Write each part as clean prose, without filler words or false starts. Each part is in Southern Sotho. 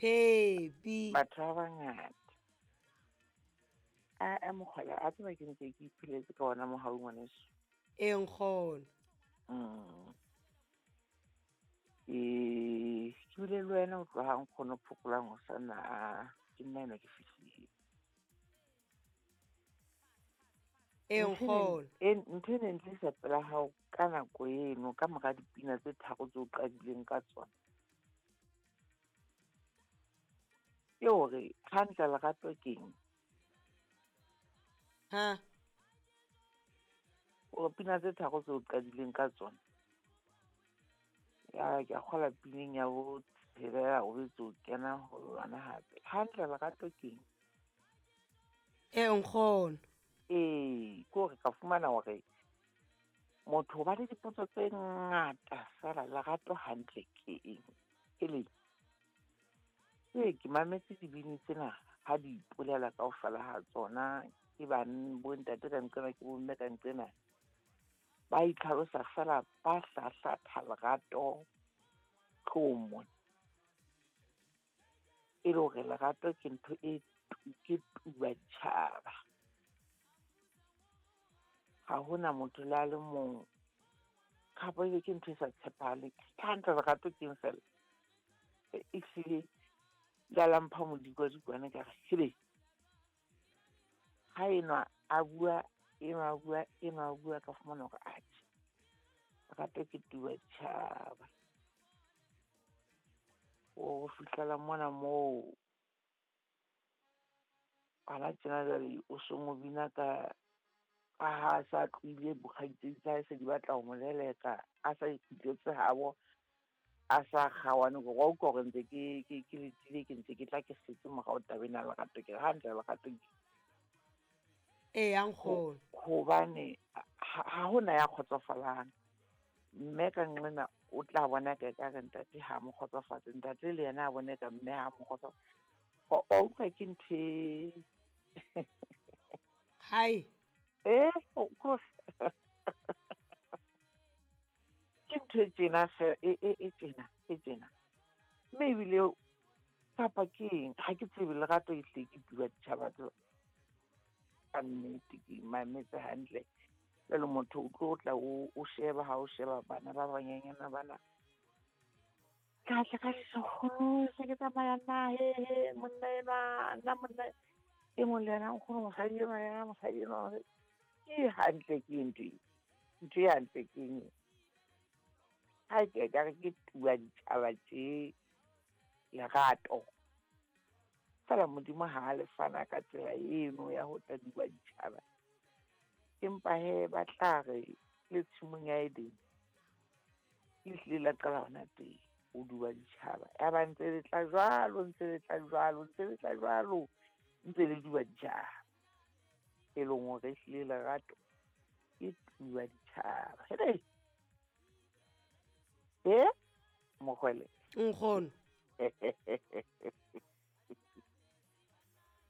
Phepi. Batho ba bangata. A mokgwela a tseba ke ntse ke ipheletse ka ona mohau ngwaneso. Ee nkgono. Ke bile le wena o tloha nkgono phokolang ho sana ke nna enwa ke fihlile. Ee nkgono. Ntho e neng tlisa pela hao ka nako eno ka mora dipina tse tharo tseo qadileng ka tsona. Ke hore hantle lerato keng? Ha? O pina tse tharo tseo qadileng ka tsona. Ya ke a kgola pineng ya bo tshelela o betse o kena ho yona hape. Hantle lerato keng? Ee nkgono. Ee, ke hore ka fumana hore motho ba le dipotso tse ngata feela lerato hantle ke eng? Ele ee ke mametse dibini tsena ha di ipolela kaofela ha tsona ke bo ntate ka nqena ke bomme ka nqena. Ba itlhalosa feela ba hlahlatha lerato tlong mona. E le hore lerato ke ntho e ke tuba ditjhaba. Ha hona motho le a le mong kapa ebe ke ntho e sa tshepahaleng. Ke hantle lerato keng fela? Ehlile la la mpha modikwadikwane ka re hele. Ha enwa a bua, enwa a bua, enwa a bua ka fumana hore atjhe. Lerato ke tuba ditjhaba. O fihlela mona moo hana tjena jwale o so mo bina ka ha sa tlohile bokgaitsedi tsa hae se di batla ho mo leleka, a sa ikgutletse habo, a sa kgaohane hore wa utlwa hore ntse ke letile, ke ntse ke tla ke setse morao taba ena ya lerato. Ke re hantle lerato ke Ee, ya nkgono. Hobane ha hona ya kgotsofalang. Mme ka nqena o tla bona ka ekare ntate ha mo kgotsofatse, ntate le yena a bone ka mme ha mo kgotsofatse. Wa utlwa ke ntho e Hai. Of course. Ke ntho e tjena feela e tjena, e tjena. Mme ebile kapa ke eng ha ke tsebe lerato ehlile ke tuba ditjhaba tseo. Ka nnete ke mametse hantle. Jwale motho o tlo tla o sheba ha o sheba bana ba banyenyana bana. Ka tla ka nkgono se ke tsamaya nna he monna enwa nna monna e mong le yena nkgono mosadi enwa yena mosadi enwa. Ke hantle ke ntho e. Ntho e hantle ke eng? Ha ke ka re ke tuba ditjhaba tje lerato. Feela Modimo ha le fana ka tsela eno ya ho tla duba ditjhaba. Empa he ba tla re le tshimong ya Edene. Ehlile la qala hona teng ho duba ditjhaba. Ya ba ntse le tla jwalo, ntse le tla jwalo, ntse le tla jwalo, ntse le duba ditjhaba. E leng hore ehlile lerato ke tuba ditjhaba. Hele! Mokgwele. Nkgono.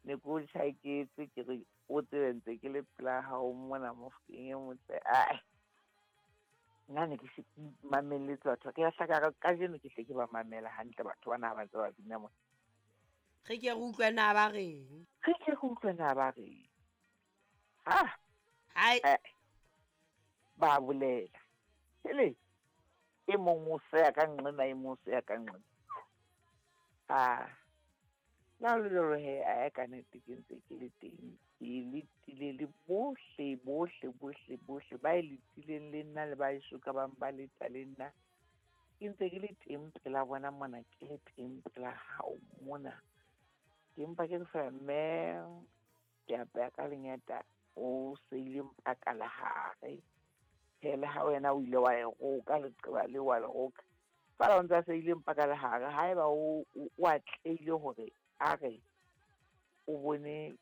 Ne ke o tjhaketse ke re o tsebe ntse ke le pela hao mona Mofokeng e motle. Ai. Nna ne ke se ke mamelletse batho. Ke a hlaka re kajeno ke hle ke ba mamela hantle batho bana ha ba ntse ba bina mona. Re ke re utlwe na ba reng? Re ke re utlwe na ba reng? Ha? Hai. Ba bolela. Hele. E mong o seya ka nqena, e mong o seya ka nqena. Ah. La le jwalo he, a ka nnete ke ntse ke le teng. Ke letile le bohle, bohle, bohle, bohle ba e letileng le nna le ba eso ka bang ba leta le nna. Ke ntse ke le teng pela bona mona, ke le teng pela hao mona. Ke mpa ke re feela mme ke apeya ka lengeta o seile mpaka lehare. Hele ha wena o ile wa e roka leqeba le wa le roka. Feela o ntsa seile mpaka lehare haeba o atlehile hore a re o bone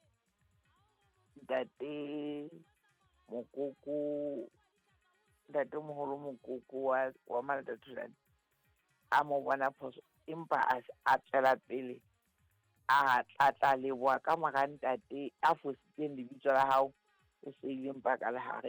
ntate Mokoko, ntate moholo Mokoko wa Malatathulane a mo bona phoso empa a tswela pele a tla leboha ka mora ntate a fositseng lebitso la hao o seile mpaka lehare.